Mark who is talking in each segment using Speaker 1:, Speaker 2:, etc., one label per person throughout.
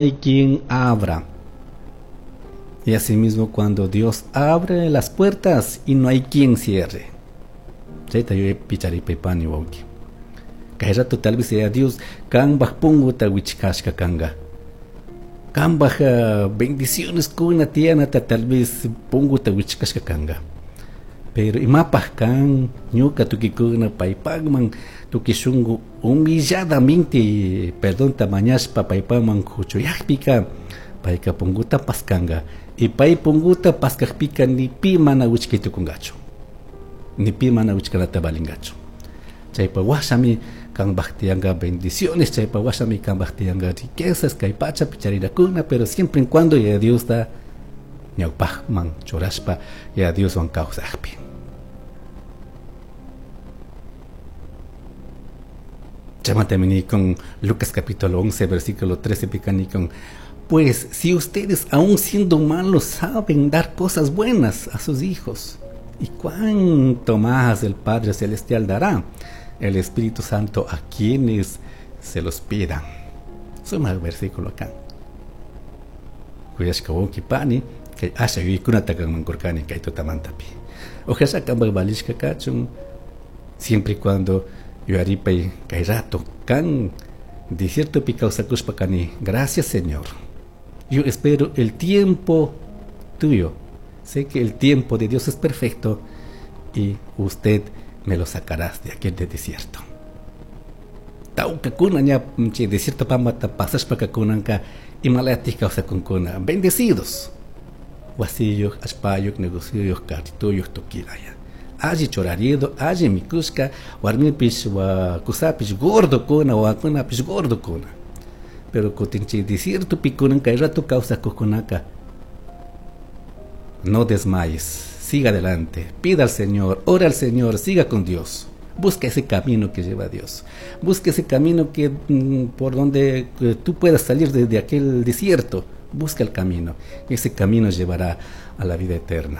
Speaker 1: Hay quien abra. Y asimismo cuando Dios abre las puertas y no hay quien cierre. Chayta yuyapicharipaypani wawki. Kay rato tal vez sea Dios kambaj punguta wichkashka kanga. Kambaj bendiciones kuna tiyanata tal vez punguta wichkashka kanga. Pero imapaj kan ñuka tukikuna paypakman tukuy shunku humilladamente perdonta mañashpa paypakman huchuyakpika payka punguta paskanga. Y pay punguta paskakpika ni pi mana wichkay tukungachu. Ni pi mana wichkanata valingachu. Chaypa washami kanpaj tiyanka bendiciones, chaypa washami kanpaj tiyanka riquezas kay pachapi charirakuna, pero siempre en cuando Yaya Diosta ñawpajman churashpa Yaya Dioswan kawsakpi. Chaymantami con Lucas capítulo 11, versículo 13 pica con: pues si ustedes aún siendo malos saben dar cosas buenas a sus hijos, y cuánto más el Padre Celestial dará el Espíritu Santo a quienes se los pidan. Suma el versículo acá. Kuyashka wawki pani, kay asha yuyaykunata kanman kurkani kay tutamantapi. Ojalá kanpak valishka kachun, siempre y cuando yuyaripay kay rato kan desiertopi kawsakushpa kani. Gracias, Señor. Yo espero el tiempo tuyo. Sé que el tiempo de Dios es perfecto y usted me lo sacarás de aquel de desierto. Tawkakuna ña chay desierto pambata pasashpaka kunanka imalatik kawsakunkuna. Bendecidos. Wasiyuq, allpayuq, negocioyuq, carritoyuq, tukilaya. Alli churarido, alli mikushka, warmipish, wa kusapish gordokuna, wawakunapish gordokuna. Pero kutin chay desiertopi kunan kay rato kawsakuqkunaka no desmayes, siga adelante, pida al Señor, ora al Señor, siga con Dios. Busca ese camino que lleva a Dios. Busca ese camino que por donde tú puedas salir de aquel desierto. Busca el camino. Ese camino llevará a la vida eterna.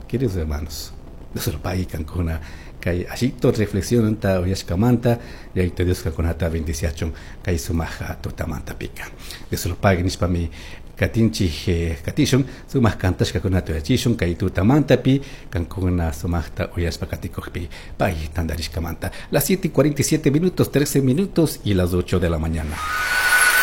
Speaker 1: Queridos hermanos, Dios lo pague kankuna kay ashito reflexionanta uyashkamanta Yayito Dios kankunata bendiciachun kay sumaja tutamanta pika. Dios lo pague nishpami katinchik katishun sumaq kantashkakunata uyachishun kay tutamantapi kankuna sumaqta uyashpa katikukpi pay tandarishkamanta. Las 7:47 minutos, 13 minutos y las 8 de la mañana.